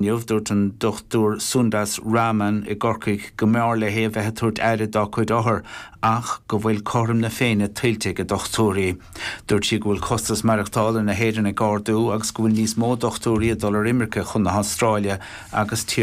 Inniu, dúirt an Dr Sundas Raman i gCorcaigh go mb'fhearr léi a bheith ag tabhairt aire dá cuid othar ach go bhfuil cothrom na Féinne tuillte ag a dochtúirí. Dúirt sí go bhfuil costas maireachtála na hÉireann ag ardú agus go bhfuil níos mó dochtúirí ag dul ar imirce chun na hAstráile agus tíortha.